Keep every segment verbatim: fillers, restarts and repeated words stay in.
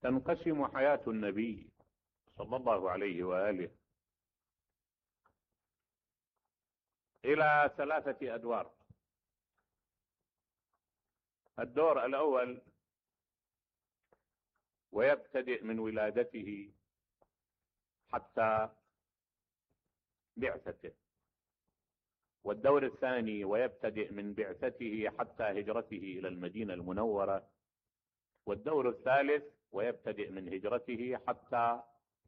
تنقسم حياة النبي صلى الله عليه وآله إلى ثلاثة أدوار. الدور الأول ويبتدئ من ولادته حتى بعثته، والدور الثاني ويبتدئ من بعثته حتى هجرته إلى المدينة المنورة، والدور الثالث ويبتدئ من هجرته حتى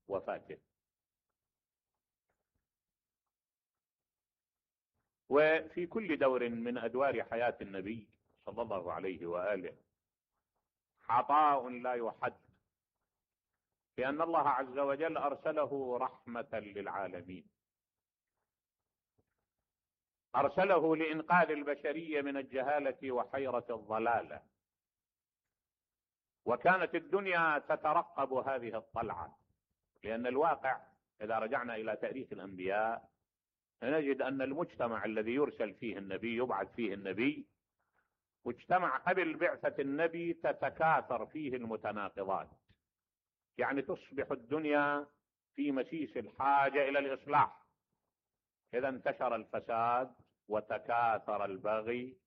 وفاته. وفي كل دور من أدوار حياة النبي صلى الله عليه وآله عطاء لا يحد، لأن الله عز وجل أرسله رحمة للعالمين، أرسله لإنقاذ البشرية من الجهالة وحيرة الضلالة، وكانت الدنيا تترقب هذه الطلعة، لأن الواقع إذا رجعنا إلى تاريخ الأنبياء نجد أن المجتمع الذي يرسل فيه النبي يبعث فيه النبي مجتمع قبل بعثة النبي تتكاثر فيه المتناقضات، يعني تصبح الدنيا في مسيس الحاجة إلى الإصلاح. إذا انتشر الفساد وتكاثر البغي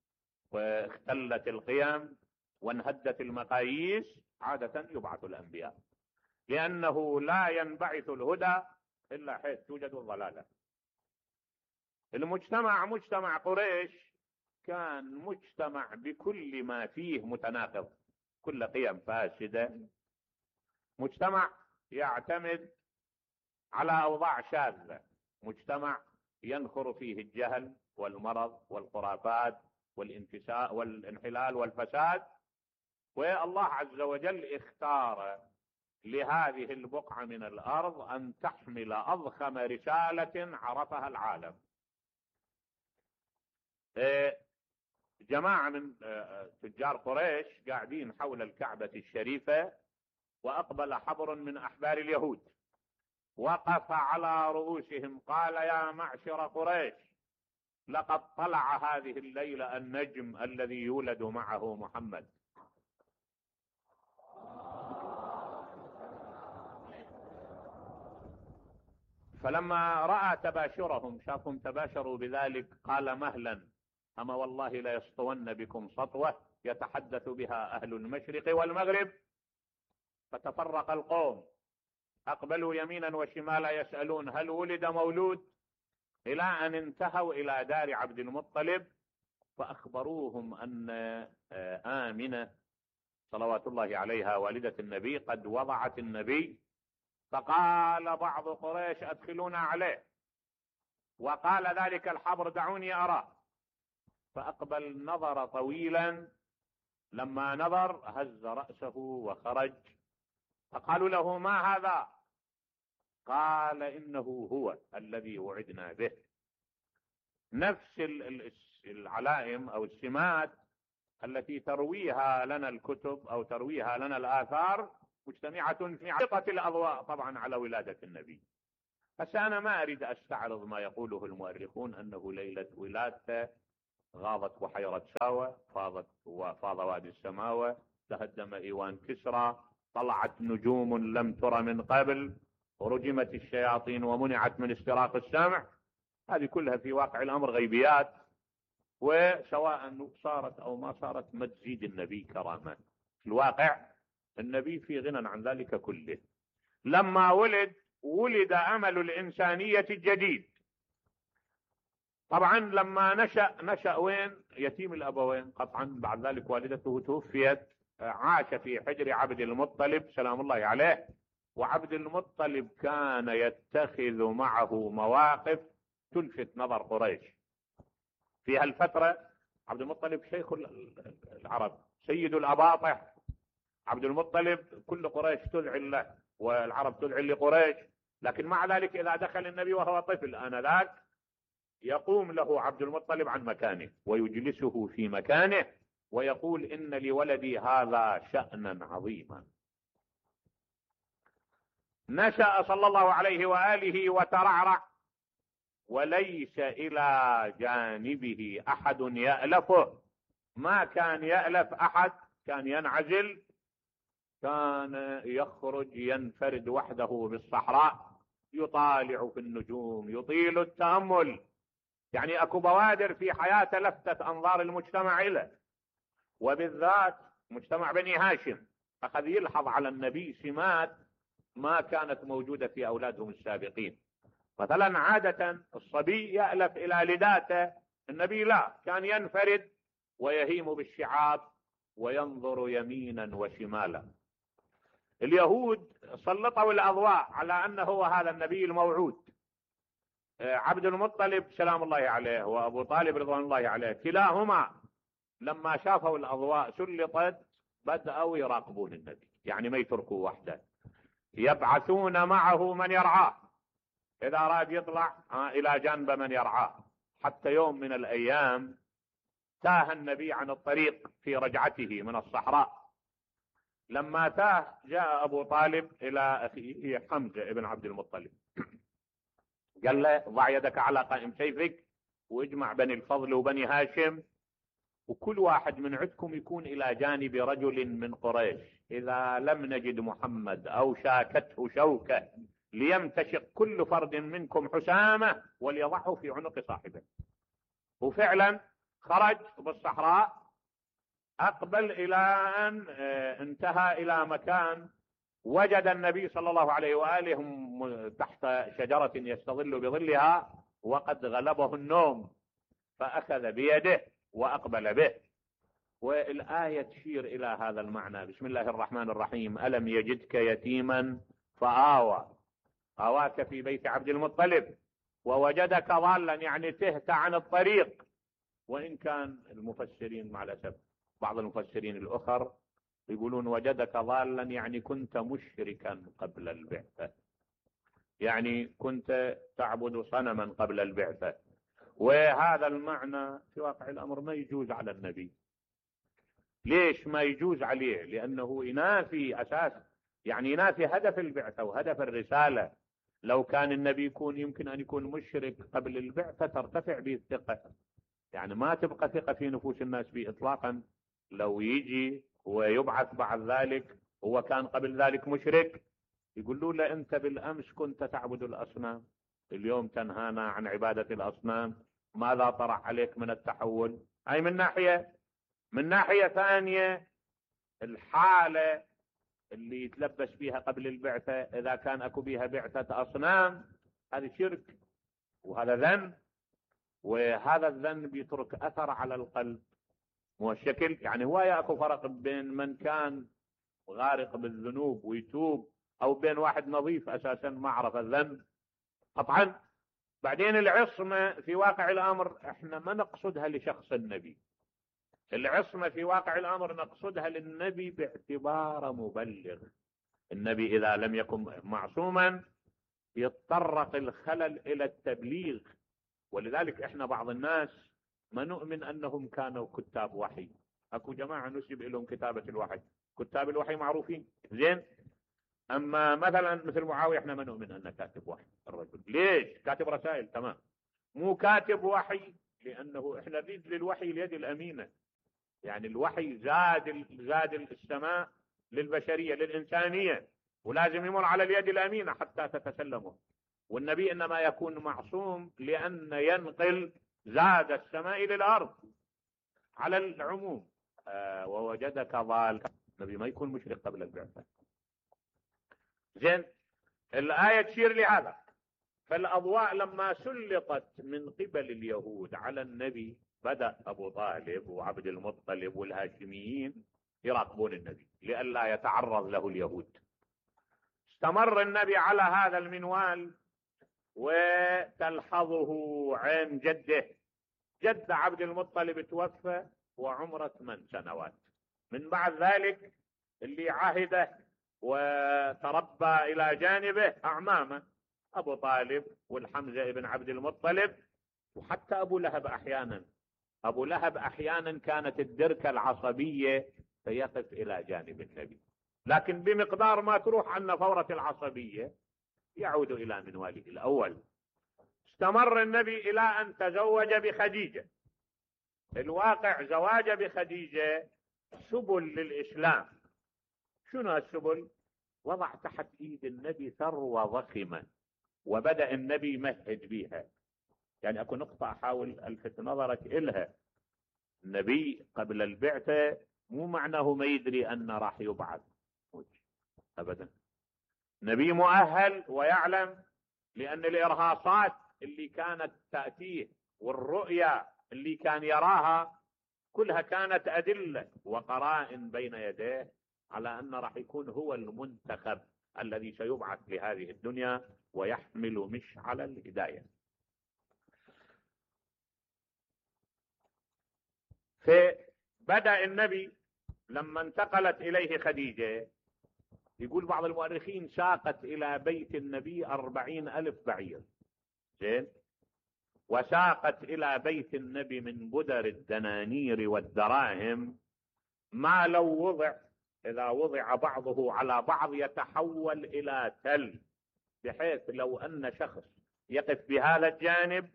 واختلت القيم وانهدت المقاييس، عادة يبعث الأنبياء، لأنه لا ينبعث الهدى إلا حيث توجد الضلالة. المجتمع مجتمع قريش كان مجتمع بكل ما فيه متناقض، كل قيم فاسدة، مجتمع يعتمد على أوضاع شاذة، مجتمع ينخر فيه الجهل والمرض والخرافات والانفساد والانحلال والفساد. والله عز وجل اختار لهذه البقعة من الأرض أن تحمل أضخم رسالة عرفها العالم. جماعة من تجار قريش قاعدين حول الكعبة الشريفة، وأقبل حبر من أحبار اليهود وقف على رؤوسهم قال: يا معشر قريش، لقد طلع هذه الليلة النجم الذي يولد معه محمد. فلما رأى تباشرهم، شافهم تباشروا بذلك، قال: مهلا، أما والله لا يسطون بكم سطوة يتحدث بها أهل المشرق والمغرب. فتفرق القوم، أقبلوا يمينا وشمالا يسألون هل ولد مولود، إلى أن انتهوا إلى دار عبد المطلب، فأخبروهم أن آمنة صلوات الله عليها والدة النبي قد وضعت النبي. فقال بعض قريش: أدخلونا عليه. وقال ذلك الحبر: دعوني أراه. فأقبل نظر طويلا، لما نظر هز رأسه وخرج. فقالوا له: ما هذا؟ قال: إنه هو الذي وعدنا به. نفس العلائم أو السمات التي ترويها لنا الكتب أو ترويها لنا الآثار مجتمعة في عقة الأضواء طبعا على ولادة النبي. بس أنا ما أريد أستعرض ما يقوله المؤرخون أنه ليلة ولادته غاضت بحيرة ساوى، فاضت وفاض وادي السماوة، تهدم إيوان كسرى، طلعت نجوم لم تر من قبل، ورجمت الشياطين ومنعت من استراق السمع. هذه كلها في واقع الأمر غيبيات، وسواء صارت أو ما صارت ما تزيد النبي كرامة. في الواقع النبي في غنى عن ذلك كله. لما ولد ولد أمل الإنسانية الجديد. طبعا لما نشأ نشأ وين؟ يتيم الأبوين قطعا. بعد ذلك والدته توفيت، عاش في حجر عبد المطلب سلام الله عليه. وعبد المطلب كان يتخذ معه مواقف تلفت نظر قريش. في هالفترة عبد المطلب شيخ العرب، سيد الأباطح. عبد المطلب كل قريش تذعن له والعرب تذعن لقريش، لكن مع ذلك إذا دخل النبي وهو طفل آنذاك يقوم له عبد المطلب عن مكانه ويجلسه في مكانه ويقول: إن لولدي هذا شأنا عظيما. نشأ صلى الله عليه وآله وترعرع، وليس إلى جانبه أحد يألفه، ما كان يألف أحد، كان ينعزل كان يخرج ينفرد وحده بالصحراء يطالع في النجوم، يطيل التأمل. يعني اكو بوادر في حياته لفتت انظار المجتمع له، وبالذات مجتمع بني هاشم اخذ يلحظ على النبي سمات ما كانت موجودة في اولادهم السابقين. مثلا عادة الصبي يألف الى لداته، النبي لا، كان ينفرد ويهيم بالشعاب وينظر يمينا وشمالا. اليهود سلطوا الاضواء على انه هو هذا النبي الموعود. عبد المطلب سلام الله عليه وابو طالب رضوان الله عليه كلاهما لما شافوا الاضواء سلطت بدأوا يراقبون النبي، يعني ما يتركوا وحده، يبعثون معه من يرعاه، اذا اراد يطلع الى جانب من يرعاه. حتى يوم من الايام تاه النبي عن الطريق في رجعته من الصحراء. لما تاه جاء ابو طالب الى اخيه حمزة ابن عبد المطلب، قال له ضع يدك على قائم سيفك واجمع بني الفضل وبني هاشم، وكل واحد من عندكم يكون الى جانب رجل من قريش، اذا لم نجد محمد او شاكته شوكة ليمتشق كل فرد منكم حسامة وليضعه في عنق صاحبه. وفعلا خرج بالصحراء، اقبل الى ان انتهى الى مكان وجد النبي صلى الله عليه وآله تحت شجرة يستظل بظلها وقد غلبه النوم، فأخذ بيده وأقبل به. والآية تشير إلى هذا المعنى. بسم الله الرحمن الرحيم: ألم يجدك يتيما فآوى، آواك في بيت عبد المطلب، ووجدك ضالا يعني تهت عن الطريق. وإن كان المفسرين مع الأسف بعض المفسرين الأخر يقولون وجدك ضالا يعني كنت مشركا قبل البعثة، يعني كنت تعبد صنما قبل البعثة. وهذا المعنى في واقع الأمر ما يجوز على النبي. ليش ما يجوز عليه؟ لأنه ينافي أساس، يعني ينافي هدف البعثة وهدف الرسالة. لو كان النبي يكون يمكن أن يكون مشرك قبل البعثة ترتفع به الثقة، يعني ما تبقى ثقة في نفوس الناس به إطلاقا. لو يجي ويبعث بعد ذلك هو كان قبل ذلك مشرك، يقولوا له أنت بالأمس كنت تعبد الأصنام، اليوم تنهانا عن عبادة الأصنام، ماذا طرح عليك من التحول؟ أي من ناحية. من ناحية ثانية الحالة اللي يتلبس فيها قبل البعثة إذا كان أكو بها بعثة أصنام هذا شرك وهذا ذنب، وهذا الذنب يترك أثر على القلب. مو الشكل يعني هو يأكو فرق بين من كان غارق بالذنوب ويتوب أو بين واحد نظيف أساسا ما عرف الذنب قطعا. بعدين العصمة في واقع الأمر احنا ما نقصدها لشخص النبي، العصمة في واقع الأمر نقصدها للنبي باعتبار مبلغ. النبي إذا لم يكن معصوما يتطرق الخلل إلى التبليغ. ولذلك احنا بعض الناس ما نؤمن أنهم كانوا كتاب وحي. أكو جماعة نسب لهم كتابة الوحي، كتاب الوحي معروفين زين، أما مثلا مثل معاوية احنا ما نؤمن أنه كاتب وحي. الرجل ليش؟ كاتب رسائل تمام، مو كاتب وحي، لأنه احنا نريد للوحي اليد الأمينة. يعني الوحي زاد زاد السماء للبشرية للإنسانية، ولازم يمر على اليد الأمينة حتى تتسلمه. والنبي إنما يكون معصوم لأن ينقل زاد السماء للأرض على العموم. آه ووجدك ضال، النبي ما يكون مشرك قبل البعثة. زين، الآية تشير لهذا. فالأضواء لما سلطت من قبل اليهود على النبي بدأ أبو طالب وعبد المطلب والهاشميين يراقبون النبي لئلا يتعرض له اليهود. استمر النبي على هذا المنوال وتلحظه عين جده. جد عبد المطلب توفى وعمره ثمان سنوات. من بعد ذلك اللي عهده وتربى إلى جانبه أعمامه أبو طالب والحمزة ابن عبد المطلب، وحتى أبو لهب أحيانا. أبو لهب أحيانا كانت الدركة العصبية فيقف إلى جانب النبي، لكن بمقدار ما تروح عنا فورة العصبية يعود إلى منواله الأول. استمر النبي إلى أن تزوج بخديجة. الواقع زواج بخديجة سبل للإسلام، شنو هالسبل؟ وضع تحت ايد النبي ثروة ضخمة وبدأ النبي يمهد بيها. يعني اكو نقطة احاول الفت نظرك الها. النبي قبل البعثة مو معناه ما يدري ان راح يبعث ابدا. نبي مؤهل ويعلم، لان الارهاصات اللي كانت تأتيه والرؤيا اللي كان يراها كلها كانت ادلة وقرائن بين يديه على ان راح يكون هو المنتخب الذي سيبعث لهذه الدنيا ويحمل مشعل الهداية. فبدأ النبي لما انتقلت اليه خديجة، يقول بعض المؤرخين ساقت الى بيت النبي أربعين الف بعير، زين، وساقت الى بيت النبي من بدر الدنانير والدراهم ما لو وضع، اذا وضع بعضه على بعض يتحول الى تل، بحيث لو ان شخص يقف بهذا الجانب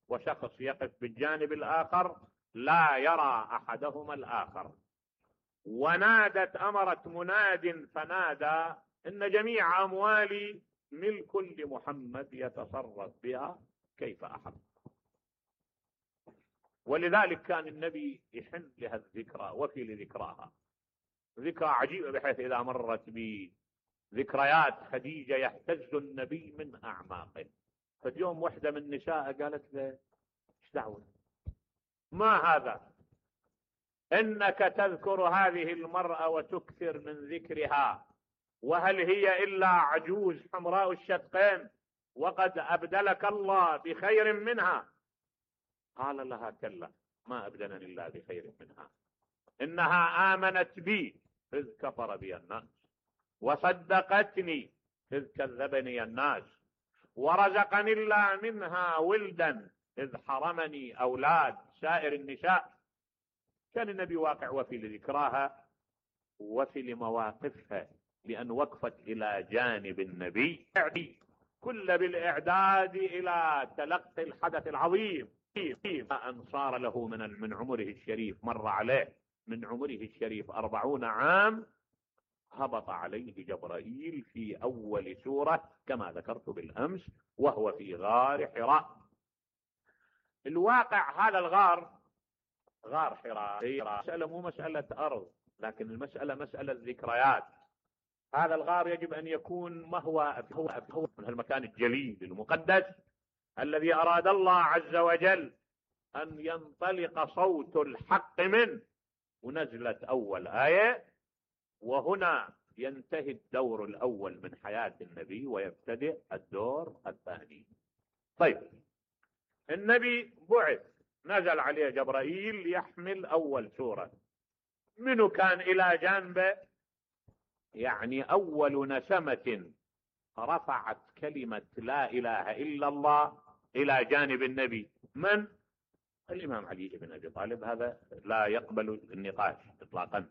وشخص يقف بالجانب الاخر لا يرى احدهما الاخر. ونادت، امرت مناد فنادى ان جميع اموالي ملك لمحمد يتصرف بها كيف احب. ولذلك كان النبي يحن لها الذكرى وفي لذكراها. ذكرى عجيبة بحيث اذا مرت بذكريات خديجة يهتز النبي من اعماقه. فاليوم وحدة من نساء قالت له ايش دعوة؟ ما هذا؟ انك تذكر هذه المرأة وتكثر من ذكرها، وهل هي الا عجوز حمراء الشدقين وقد ابدلك الله بخير منها؟ قال لها كلا، ما ابدلني الله بخير منها، انها امنت بي اذ كفر بي الناس، وصدقتني اذ كذبني الناس، ورزقني الله منها ولدا اذ حرمني اولاد سائر النساء. كان النبي واقع وفي لذكراها وفي لمواقفها، لأن وقفت إلى جانب النبي كل بالإعداد إلى تلقي الحدث العظيم. أن صار له من من عمره الشريف، مر عليه من عمره الشريف أربعون عام، هبط عليه جبرائيل في أول سورة كما ذكرت بالأمس، وهو في غار حراء. الواقع هذا الغار، غار حراء، مسألة مو مسألة أرض، لكن المسألة مسألة ذكريات. هذا الغار يجب أن يكون مهوى من المكان الجليل المقدس الذي أراد الله عز وجل أن ينطلق صوت الحق منه. ونزلت أول آية، وهنا ينتهي الدور الأول من حياة النبي ويبتدئ الدور الثاني. طيب، النبي بعث، نزل عليه جبرائيل يحمل أول سورة. منو كان إلى جانبه؟ يعني أول نسمة رفعت كلمة لا إله إلا الله إلى جانب النبي من؟ الإمام علي بن أبي طالب. هذا لا يقبل النقاش إطلاقا،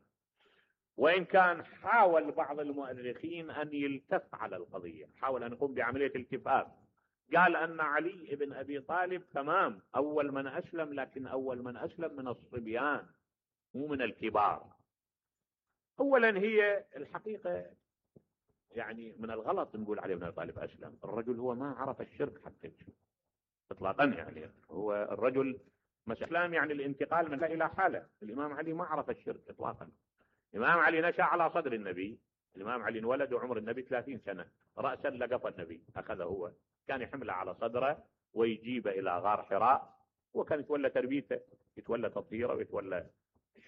وإن كان حاول بعض المؤرخين أن يلتف على القضية، حاول أن يقوم بعملية التفاف. قال أن علي بن أبي طالب تمام أول من أسلم، لكن أول من أسلم من الصبيان مو من الكبار. أولا هي الحقيقة يعني من الغلط نقول علي بن أبي طالب أسلم. الرجل هو ما عرف الشرك حتى إطلاقا. يعني هو الرجل مسلم يعني الانتقال من لا إلى حالة. الإمام علي ما عرف الشرك إطلاقا. الإمام علي نشأ على صدر النبي. الإمام علي انولد وعمر النبي ثلاثين سنة، رأسا لقف النبي أخذه هو، كان يحمله على صدره ويجيبه إلى غار حراء، وكان يتولى تربيته، يتولى تطهيره ويتولى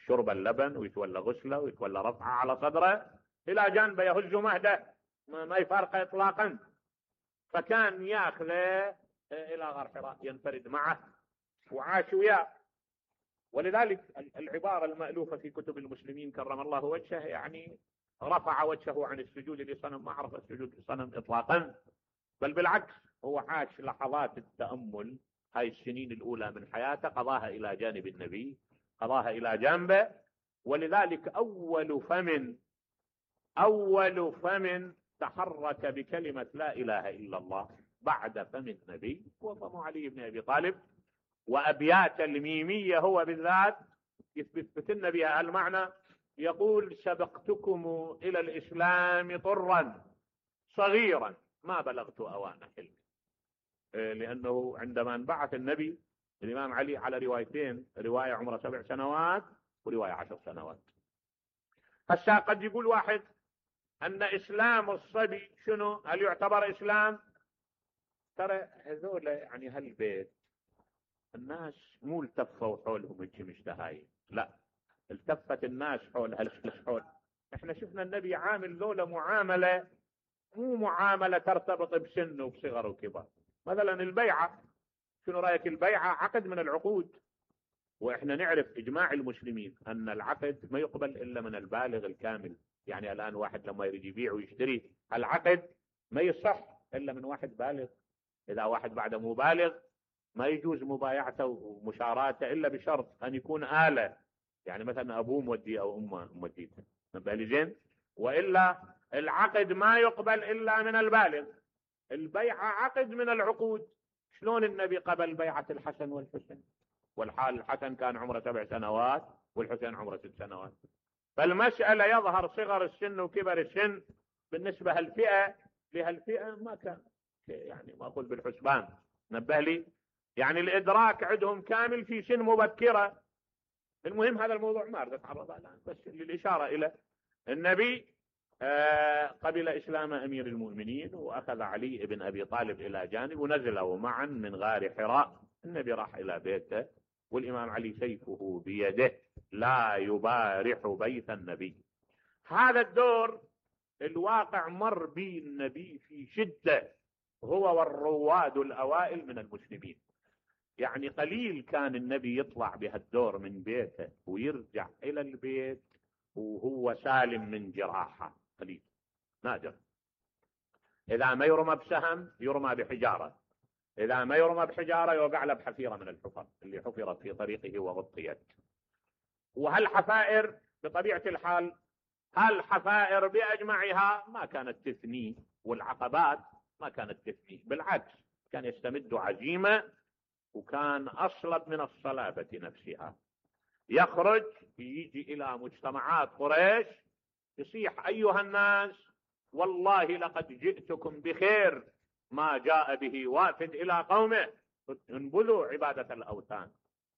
شرب اللبن ويتولى غسله ويتولى رفعه على صدره، إلى جانبه يهز مهده ما يفارقه إطلاقا. فكان ياخذه إلى غار حراء ينفرد معه وعاش وياه. ولذلك العبارة المألوفة في كتب المسلمين كرم الله وجهه يعني رفع وجهه عن السجود لصنم، ما عرف السجود لصنم إطلاقا، بل بالعكس هو عاش لحظات التأمل. هاي السنين الأولى من حياته قضاها إلى جانب النبي، قضاها إلى جانبه. ولذلك أول فم أول فم تحرك بكلمة لا إله إلا الله بعد فم النبي هو فم علي بن أبي طالب. وأبيات الميمية هو بالذات يثبت لنا بها المعنى. يقول سبقتكم إلى الإسلام طرا صغيرا ما بلغت أوان حلمي، لأنه عندما انبعث النبي الإمام علي على روايتين، رواية عمره سبع سنوات ورواية عشر سنوات. هسا قد يقول واحد أن إسلام الصبي شنو؟ هل يعتبر إسلام؟ ترى هذول يعني هالبيت الناس مو التفوا حولهم هيك مشتهاين، لا، التفت الناس حول هالحول. احنا شفنا النبي عامل ذولا معاملة مو معاملة ترتبط بسن وبصغر وكبر. مثلا البيعة، شنو رأيك؟ البيعة عقد من العقود، واحنا نعرف اجماع المسلمين ان العقد ما يقبل الا من البالغ الكامل. يعني الان واحد لما يريد يبيع ويشتري العقد ما يصح الا من واحد بالغ. اذا واحد بعده مو بالغ ما يجوز مبايعته ومشاراته الا بشرط ان يكون آلة، يعني مثلا ابوه مودي او امه موديته، بالي زين، والا العقد ما يقبل الا من البالغ. البيعة عقد من العقود. شلون النبي قبل بيعة الحسن والحسين والحال الحسن كان عمره سبع سنوات والحسين عمره ست سنوات؟ فالمسألة يظهر صغر السن وكبر السن بالنسبة هالفئة لهالفئة ما كان يعني مأخوذ بالحسبان. نبه لي، يعني الإدراك عندهم كامل في سن مبكرة. المهم هذا الموضوع ما أريد أتعرض الآن، بس للإشارة إلى النبي آه قبل إسلام أمير المؤمنين، وأخذ علي بن أبي طالب إلى جانب ونزلوا معا من غار حراء. النبي راح إلى بيته والإمام علي سيفه بيده لا يبارح بيت النبي. هذا الدور الواقع مر به النبي في شدة، هو والرواد الأوائل من المسلمين. يعني قليل كان النبي يطلع بهالدور من بيته ويرجع إلى البيت وهو سالم من جراحة، قليل، نادر. إذا ما يرمى بسهم يرمى بحجارة، إذا ما يرمى بحجارة يوقع له بحفيرة من الحفر اللي حفرت في طريقه وغطيت. وهالحفائر بطبيعة الحال هالحفائر بأجمعها ما كانت تثني، والعقبات ما كانت تثني، بالعكس كان يستمد عزيمة وكان أصلب من الصلابة نفسها. يخرج يجي إلى مجتمعات قريش يصيح أيها الناس والله لقد جئتكم بخير ما جاء به وافد إلى قومه، انبذوا عبادة الأوثان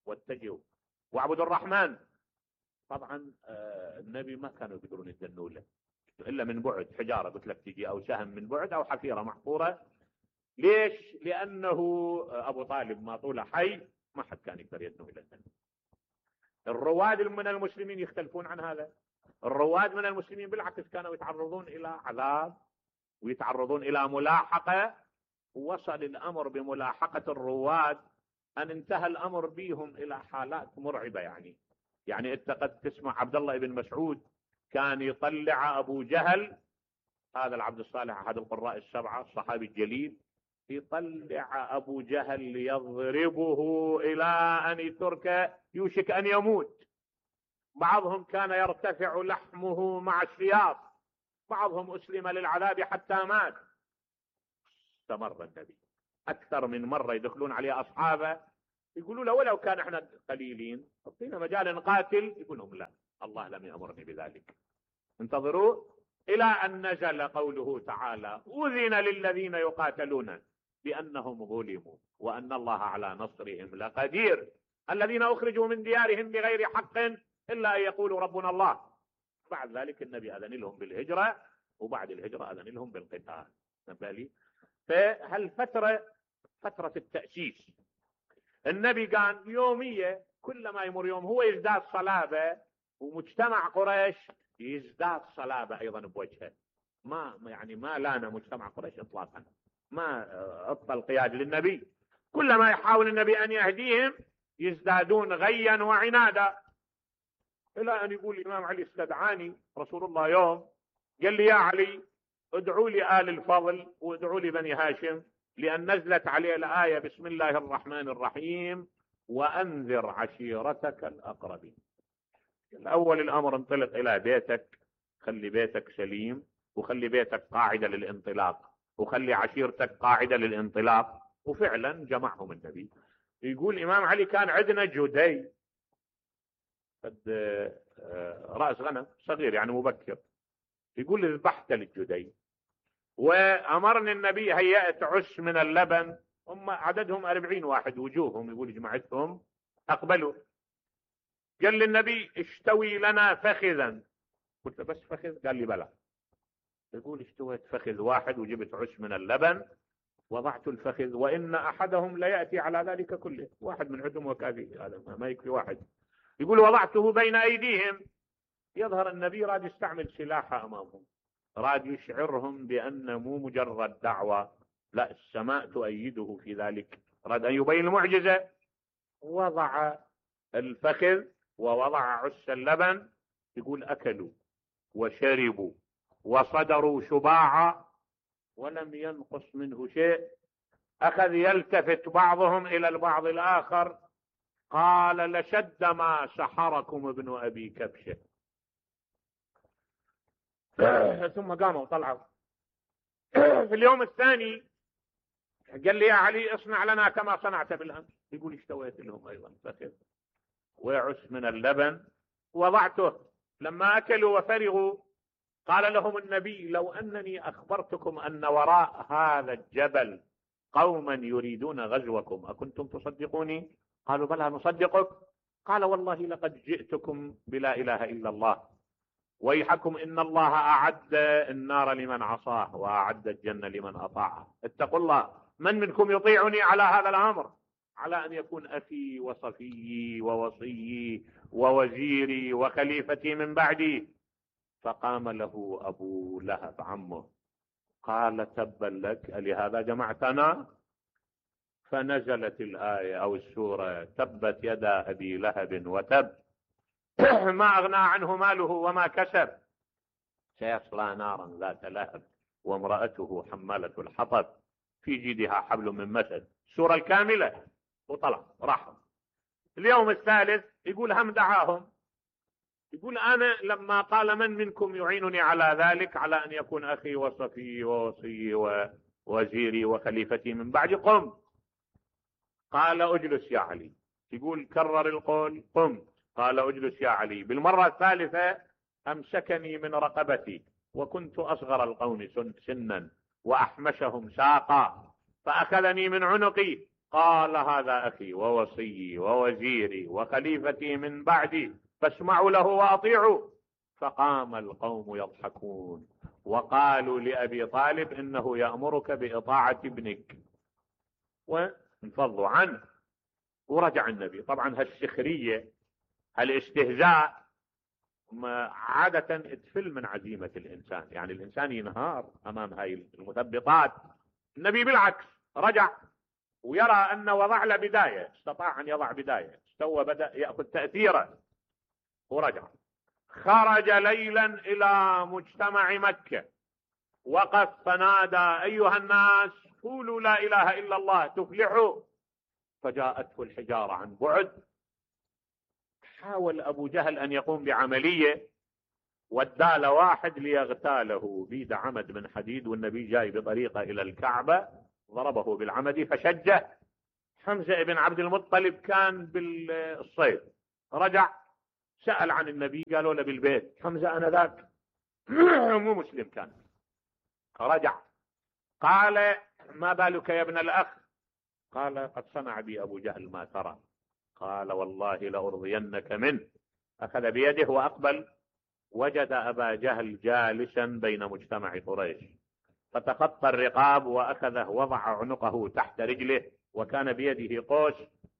واتجهوا واعبدوا الرحمن. طبعا النبي ما كانوا يقدرون يدنوا له إلا من بعد، حجارة قلت لك تجي أو سهم من بعد أو حفيرة محفورة. ليش؟ لأنه أبو طالب ما طوله حي ما حد كان يقدر يدنو إلى النبي. الرواد من المسلمين يختلفون عن هذا. الرواد من المسلمين بالعكس كانوا يتعرضون إلى عذاب ويتعرضون إلى ملاحقة. وصل الأمر بملاحقة الرواد أن انتهى الأمر بهم إلى حالات مرعبة. يعني يعني أنت قد تسمع عبد الله بن مسعود كان يطلع أبو جهل، هذا العبد الصالح أحد القراء السبعة الصحابي الجليل، يطلع أبو جهل ليضربه إلى أن يترك يوشك أن يموت. بعضهم كان يرتفع لحمه مع السياط، بعضهم أسلم للعذاب حتى مات. استمر النبي أكثر من مرة يدخلون عليه أصحابه يقولوا له ولو كان احنا قليلين اعطينا مجال نقاتل، يقول لهم لا الله لم يأمرني بذلك، انتظروا إلى أن نزل قوله تعالى أذن للذين يقاتلون بأنهم ظلموا وأن الله على نصرهم لقدير، الذين أخرجوا من ديارهم بغير حق إلا أن يقولوا ربنا الله. بعد ذلك النبي أذن لهم بالهجرة، وبعد الهجرة أذن لهم بالقتال. نبالي فهالفترة فترة التأسيس النبي كان يومية، كل ما يمر يوم هو يزداد صلابة، ومجتمع قريش يزداد صلابة أيضا بوجهه. ما يعني ما لان مجتمع قريش إطلاقا، ما أبطل قياد للنبي، كل ما يحاول النبي أن يهديهم يزدادون غيا وعنادا، إلى أن يقول الإمام علي استدعاني رسول الله يوم قال لي يا علي ادعوا لي آل الفضل وادعوا لي بني هاشم، لأن نزلت عليه الآية بسم الله الرحمن الرحيم وأنذر عشيرتك الأقربين. الأول الأمر انطلق إلى بيتك، خلي بيتك سليم وخلي بيتك قاعدة للانطلاق وخلي عشيرتك قاعدة للانطلاق. وفعلا جمعهم النبي. يقول الإمام علي كان عندنا جدي، قد رأس غنم صغير يعني مبكر، يقول ذبحت للجدي وأمرني النبي هيأت عش من اللبن، هم عددهم أربعين واحد وجوههم يقول جمعتهم أقبلوا. قال للنبي اشتوي لنا فخذا، قلت بس فخذ؟ قال لي بلى. يقول اشتويت فخذ واحد وجبت عش من اللبن وضعت الفخذ، وإن أحدهم ليأتي على ذلك كله، واحد من عندهم وكافي، هذا ما يكفي واحد. يقول وضعته بين أيديهم. يظهر النبي راد يستعمل سلاحه أمامهم، راد يشعرهم بأن مو مجرد دعوة، لا، السماء تؤيده في ذلك، راد أن يبين المعجزة. وضع الفخذ ووضع عش اللبن. يقول أكلوا وشربوا وصدروا شباعا ولم ينقص منه شيء. أخذ يلتفت بعضهم إلى البعض الآخر، قال لشد ما سحركم ابن أبي كبشة. ثم قاموا وطلعوا. في اليوم الثاني قال لي يا علي اصنع لنا كما صنعت بالأمس. يقول اشتويت لهم أيضا فخذ وعش من اللبن وضعته. لما أكلوا وفرغوا قال لهم النبي لو أنني أخبرتكم أن وراء هذا الجبل قوما يريدون غزوكم أكنتم تصدقوني؟ قالوا بلى نصدقك. قال والله لقد جئتكم بلا إله إلا الله، ويحكم إن الله أعد النار لمن عصاه وأعد الجنة لمن أطاعه. اتقوا الله، من منكم يطيعني على هذا الأمر، على أن يكون أخي وصفيي ووصيي ووزيري وخليفتي من بعدي. فقام له أبو لهب عمه قال تبا لك ألهذا جمعتنا؟ فنزلت الآية أو السورة تبت يدا أبي لهب وتب ما أغنى عنه ماله وما كسب سيصلى نارا ذات لهب وامرأته حمالة الحطب في جيدها حبل من مسد. السورة الكاملة وطلع راح. اليوم الثالث يقول هم دعاهم، يقول أنا لما قال من منكم يعينني على ذلك، على أن يكون أخي وصفي ووصي ووزيري وخليفتي من بعد، قم. قال أجلس يا علي. يقول كرر القول قم. قال أجلس يا علي. بالمرة الثالثة أمسكني من رقبتي، وكنت أصغر القوم سنا وأحمشهم ساقا، فأخذني من عنقي قال هذا أخي ووصي ووزيري وخليفتي من بعدي فاسمعوا له وأطيعوا. فقام القوم يضحكون وقالوا لأبي طالب إنه يأمرك بإطاعة ابنك، وانفضوا عنه. ورجع النبي. طبعا هالسخرية هالاستهزاء عادة تفل من عزيمة الإنسان، يعني الإنسان ينهار أمام هاي المثبطات. النبي بالعكس رجع ويرى أن وضع له بداية، استطاع أن يضع بداية، استوى بدأ يأخذ تأثيره ورجع. خرج ليلا إلى مجتمع مكة، وقف فنادى أيها الناس قولوا لا إله إلا الله تفلحوا. فجاءته الحجارة عن بعد. حاول أبو جهل أن يقوم بعملية، ودال واحد ليغتاله بيد عمد من حديد، والنبي جاي بطريقة إلى الكعبة ضربه بالعمد فشجه. حمزة بن عبد المطلب كان بالصيد، رجع سأل عن النبي، قالوا له بالبيت. حمزة أنا ذاك مو مسلم كان. رجع قال ما بالك يا ابن الأخ؟ قال قد صنع بي أبو جهل ما ترى. قال والله لأرضينك منه. أخذ بيده وأقبل، وجد أبا جهل جالسا بين مجتمع قريش، فتخطى الرقاب وأخذه وضع عنقه تحت رجله، وكان بيده قوس،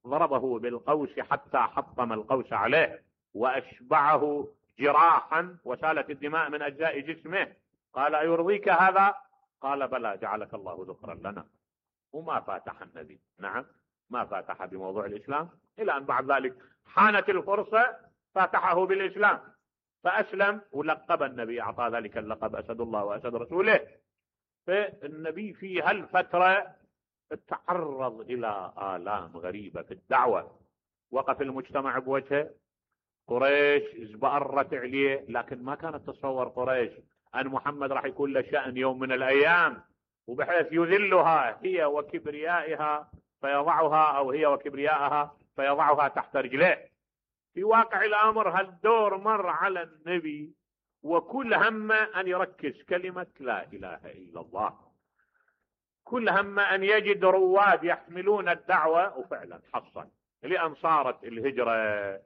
ضربه بالقوس حتى حطم القوس عليه وأشبعه جراحا وسالت الدماء من أجزاء جسمه. قال أيرضيك هذا؟ قال بلى جعلك الله ذخرا لنا. وما فاتح النبي، نعم ما فاتح بموضوع الإسلام، إلى أن بعد ذلك حانت الفرصة فاتحه بالإسلام فأسلم، ولقب النبي، أعطى ذلك اللقب أسد الله وأسد رسوله. فالنبي في هالفترة تعرض إلى آلام غريبة في الدعوة. وقف المجتمع بوجهه، قريش ازبأرت عليه، لكن ما كانت تتصور قريش أن محمد راح يكون له شأن يوم من الأيام، وبحيث يذلها هي وكبريائها فيضعها، أو هي وكبريائها فيضعها تحت رجليه. في واقع الأمر هالدور مر على النبي وكل همه أن يركز كلمة لا إله إلا الله، كل همه أن يجد رواد يحملون الدعوة، وفعلا حصل. لأن صارت الهجرة،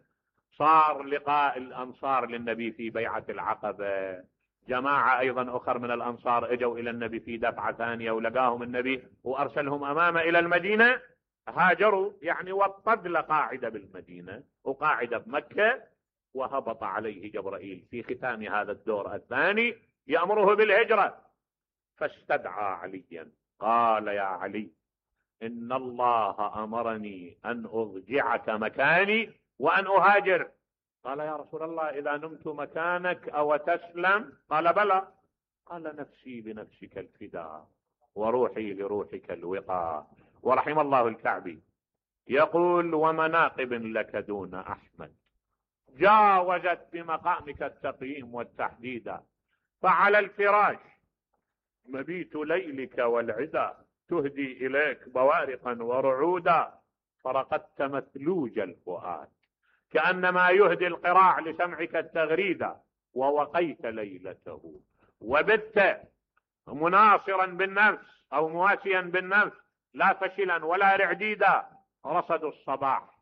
صار لقاء الأنصار للنبي في بيعة العقبة، جماعة أيضا أخر من الأنصار اجوا إلى النبي في دفعة ثانية ولقاهم النبي وأرسلهم أمامه إلى المدينة، هاجروا يعني وطد له قاعدة بالمدينة وقاعدة بمكة، وهبط عليه جبرائيل في ختام هذا الدور الثاني يأمره بالهجرة، فاستدعى عليا قال يا علي إن الله أمرني أن أضجعك مكاني وأن أهاجر. قال يا رسول الله إذا نمت مكانك أو تسلم؟ قال بلى. قال نفسي بنفسك الفداء وروحي لروحك الوقاء. ورحم الله الكعبي يقول ومناقب لك دون أحمد جاوزت بمقامك التقييم والتحديد، فعلى الفراش مبيت ليلك والعدا تهدي إليك بوارقا ورعودا، فرقدت مثلوج الفؤاد كأنما يهدي القراع لسمعك التغريدا، ووقيت ليلته وبت مناصرا بالنفس أو مواسيا بالنفس لا فشلا ولا رعديدا، رصدوا الصباح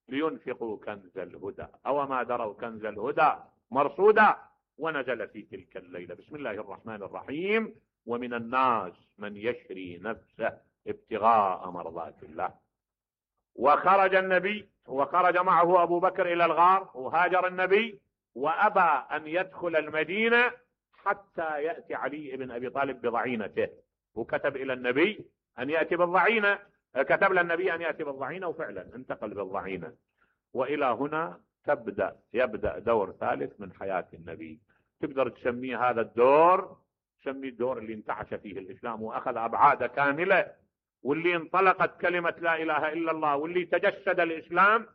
لينفقوا كنز الهدى أو ما دروا كنز الهدى مرصودا، ونزل في تلك الليلة. بسم الله الرحمن الرحيم. ومن الناس من يشري نفسه ابتغاء مرضات الله. وخرج النبي وخرج معه أبو بكر إلى الغار، وهاجر النبي وأبى أن يدخل المدينة حتى يأتي علي بن أبي طالب بضعينته، وكتب إلى النبي أن يأتي بالضعينة، كتب للنبي أن يأتي بالضعينة، وفعلا انتقل بالضعينة. وإلى هنا تبدأ يبدأ دور ثالث من حياة النبي. تقدر تسميه هذا الدور، تسميه الدور اللي انتعش فيه الإسلام وأخذ أبعاد كاملة، واللي انطلقت كلمة لا إله إلا الله، واللي تجسد الإسلام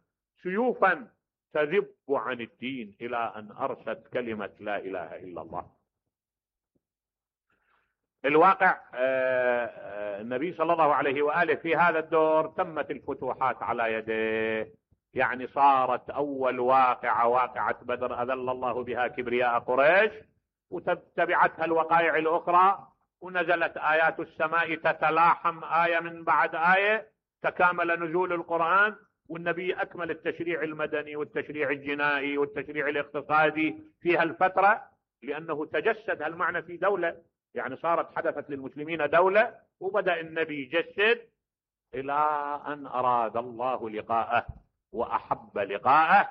سيوفا تذب عن الدين إلى أن أرست كلمة لا إله إلا الله. الواقع النبي صلى الله عليه وآله في هذا الدور تمت الفتوحات على يديه، يعني صارت أول واقعة واقعة بدر أذل الله بها كبرياء قريش، وتبعتها الوقائع الأخرى، ونزلت آيات السماء تتلاحم آية من بعد آية، تكامل نزول القرآن، والنبي أكمل التشريع المدني والتشريع الجنائي والتشريع الاقتصادي في هالفترة، لأنه تجسد هالمعنى في دولة، يعني صارت حدثت للمسلمين دولة، وبدأ النبي يجسد إلى أن أراد الله لقاءه وأحب لقاءه.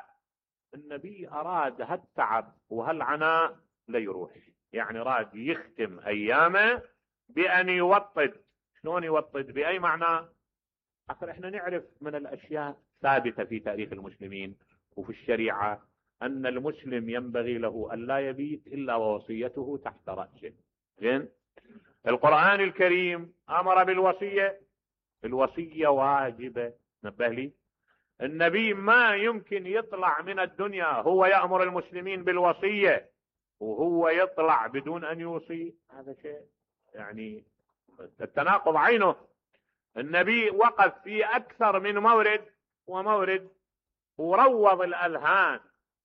النبي أراد هالتعب وهالعناء ليروح، يعني راد يختم أيامه بأن يوطد. شلون يوطد؟ بأي معنى؟ أخر إحنا نعرف من الأشياء ثابتة في تاريخ المسلمين وفي الشريعة أن المسلم ينبغي له أن لا يبيت إلا ووصيته تحت رأسه. زين؟ القرآن الكريم أمر بالوصية، الوصية واجبة. نبه لي، النبي ما يمكن يطلع من الدنيا هو يأمر المسلمين بالوصية وهو يطلع بدون أن يوصي، هذا شيء يعني التناقض عينه. النبي وقف في أكثر من مورد ومورد وروض الأذهان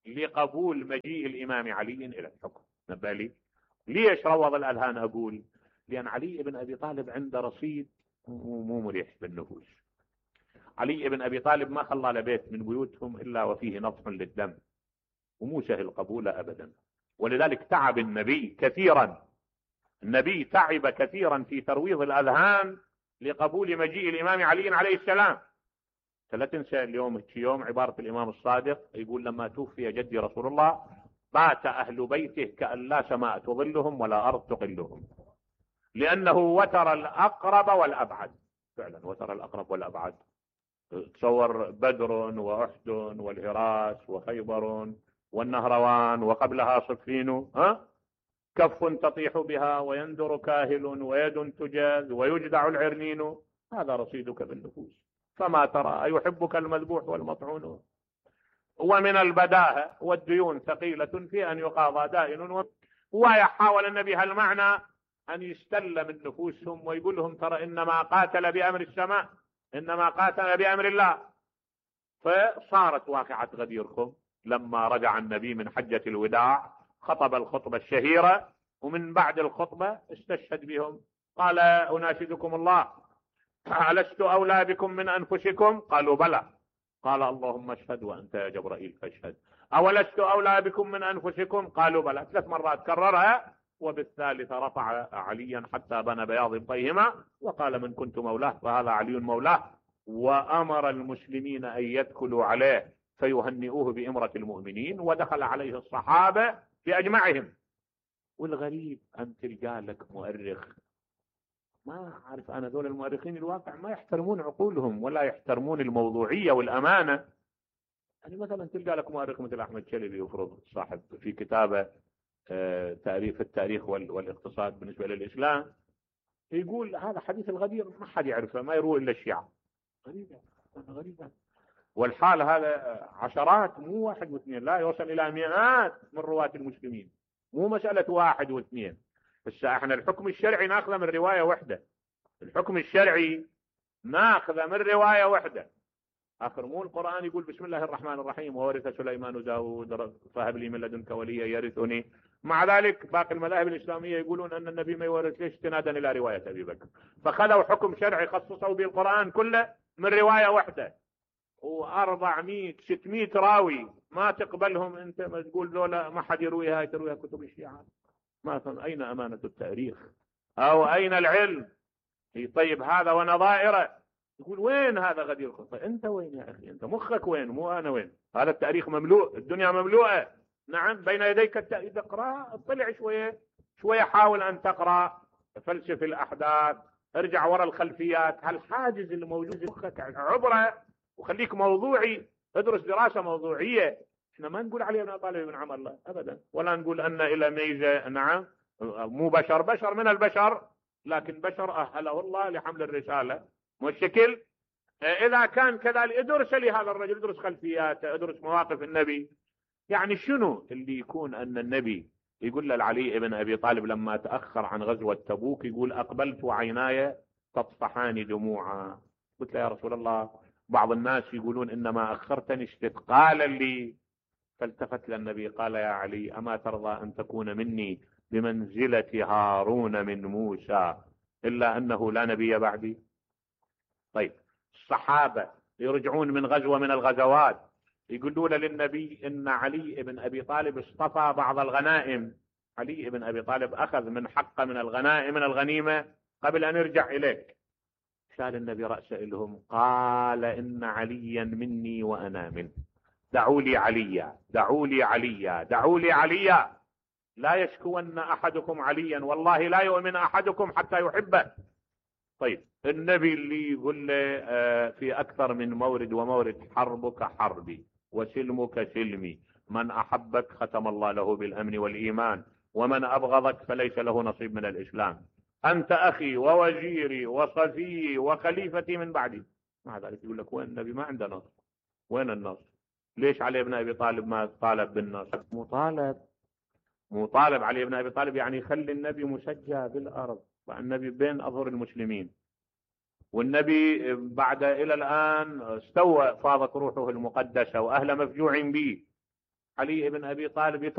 لقبول مجيء الإمام علي إلى الحكم. نبه لي، ليش روض الأذهان؟ أقول لأن علي بن أبي طالب عنده رصيد مو مريح بالنفوس. علي بن أبي طالب ما خلى لبيت من بيوتهم إلا وفيه نضح للدم، ومو سهل قبوله أبدا. ولذلك تعب النبي كثيرا، النبي تعب كثيرا في ترويض الأذهان لقبول مجيء الإمام علي عليه السلام. لا تنسى اليوم يوم عبارة الإمام الصادق يقول لما توفي جدي رسول الله بات أهل بيته كأن لا سماء تظلهم ولا أرض تقلهم، لأنه وتر الأقرب والأبعد. فعلا وتر الأقرب والأبعد. تصور بدر وأحد والهراس وخيبر والنهروان وقبلها صفين، ها؟ كف تطيح بها ويندر كاهل ويد تجاز ويجدع العرنين، هذا رصيدك بالنفوس. فما ترى أيحبك المذبوح والمطعون. ومن البداهة والديون ثقيلة في أن يقاضى دائن. ويحاول النبي هالمعنى أن يستلم النفوسهم ويقول لهم ترى إنما قاتل بأمر السماء، إنما قاتل بأمر الله. فصارت واقعة غدير خم لما رجع النبي من حجة الوداع، خطب الخطبة الشهيرة، ومن بعد الخطبة استشهد بهم. قال: أناشدكم الله، ألست أولى بكم من أنفسكم؟ قالوا: بلى. قال: اللهم اشهد وأنت يا جبرائيل فاشهد. أولست أولى بكم من أنفسكم؟ قالوا: بلى. ثلاث مرات كررها، وبالثالثة رفع عليا حتى بنى بياض طيهما وقال: من كنت مولاه فهذا علي مولاه. وأمر المسلمين أن يدخلوا عليه فيهنئوه بإمرة المؤمنين، ودخل عليه الصحابة بأجمعهم. والغريب أن تلقى لك مؤرخ، ما أعرف أنا، ذول المؤرخين الواقع ما يحترمون عقولهم ولا يحترمون الموضوعية والأمانة. يعني مثلا تلقى لك مؤرخ مثل أحمد شلبي يفرض صاحب في كتابه آه تعريف التاريخ والاقتصاد بالنسبة للإسلام، يقول هذا حديث الغدير ما حد يعرفه، ما يروي إلا الشيعة. غريبة غريبة. والحال هذا عشرات، مو واحد واثنين، لا يوصل إلى مئات من رواة المسلمين، مو مسألة واحد واثنين. بس احنا الحكم الشرعي ناخذه من رواية واحدة، الحكم الشرعي ناخذه من رواية واحدة. آخر مو القرآن يقول بسم الله الرحمن الرحيم وورث سليمان داود فهب لي من لدنك وليا يرثني. مع ذلك باقي المذاهب الإسلامية يقولون أن النبي ما يورث، ليش؟ استنادا إلى رواية أبي بكر. فخذوا حكم شرعي خصصوا به القرآن كله من رواية واحدة، وأربعمائة ستمائة راوي ما تقبلهم أنت، ما تقول ذولا ما حد يرويها، ترويها كتب الشيعة. ما أين أمانة التاريخ أو أين العلم؟ طيب هذا ونظائره، يقول وين هذا غدير خطة؟ انت وين يا اخي؟ انت مخك وين؟ مو انا وين؟ هذا التاريخ مملوء، الدنيا مملوءة نعم بين يديك التاريخ. اقرا، اطلع شوية شوية، حاول ان تقرا، فلسف الاحداث، ارجع وراء الخلفيات، هالحاجز اللي موجود في مخك عبره وخليك موضوعي، ادرس دراسة موضوعية. احنا ما نقول عليه ابن طالب بن عمر لا ابدا، ولا نقول ان الى ميزة، نعم مو بشر، بشر من البشر، لكن بشر اهله الله لحمل الرسالة. والشكل اذا كان كذلك ادرس لهذا الرجل، ادرس خلفياته، ادرس مواقف النبي. يعني شنو اللي يكون ان النبي يقول لعلي بن ابي طالب لما تاخر عن غزوة تبوك، يقول اقبلت وعيناي تطفحان دموعا. قلت له يا رسول الله بعض الناس يقولون انما اخرتني استثقالا لي. فالتفت للنبي قال: يا علي اما ترضى ان تكون مني بمنزلة هارون من موسى الا انه لا نبي بعدي؟ طيب الصحابة يرجعون من غزوة من الغزوات، يقولون للنبي ان علي بن ابي طالب اصطفى بعض الغنائم. علي بن ابي طالب اخذ من حقه من الغنائم من الغنيمة قبل ان يرجع اليك. شال النبي رأسه لهم قال: ان عليا مني وانا منه، دعوا لي عليا، دعوا لي عليا، دعوا لي عليا، لا يشكون احدكم عليا والله لا يؤمن احدكم حتى يحبه. طيب النبي اللي يقول له في أكثر من مورد ومورد: حربك حربي وسلمك سلمي، من أحبك ختم الله له بالأمن والإيمان، ومن أبغضك فليس له نصيب من الإسلام، أنت أخي ووزيري وصفي وخليفتي من بعدي. مع ذلك يقول لك وين النبي؟ ما عنده نصر. وين النصر؟ ليش علي بن أبي طالب ما طالب بالنصر؟ مطالب مطالب علي بن أبي طالب، يعني يخلي النبي مسجى بالأرض، والنبي بين أظهر المسلمين، والنبي بعد إلى الآن استوى فاضت روحه المقدسة وأهل مفجوع به. علي بن أبي طالب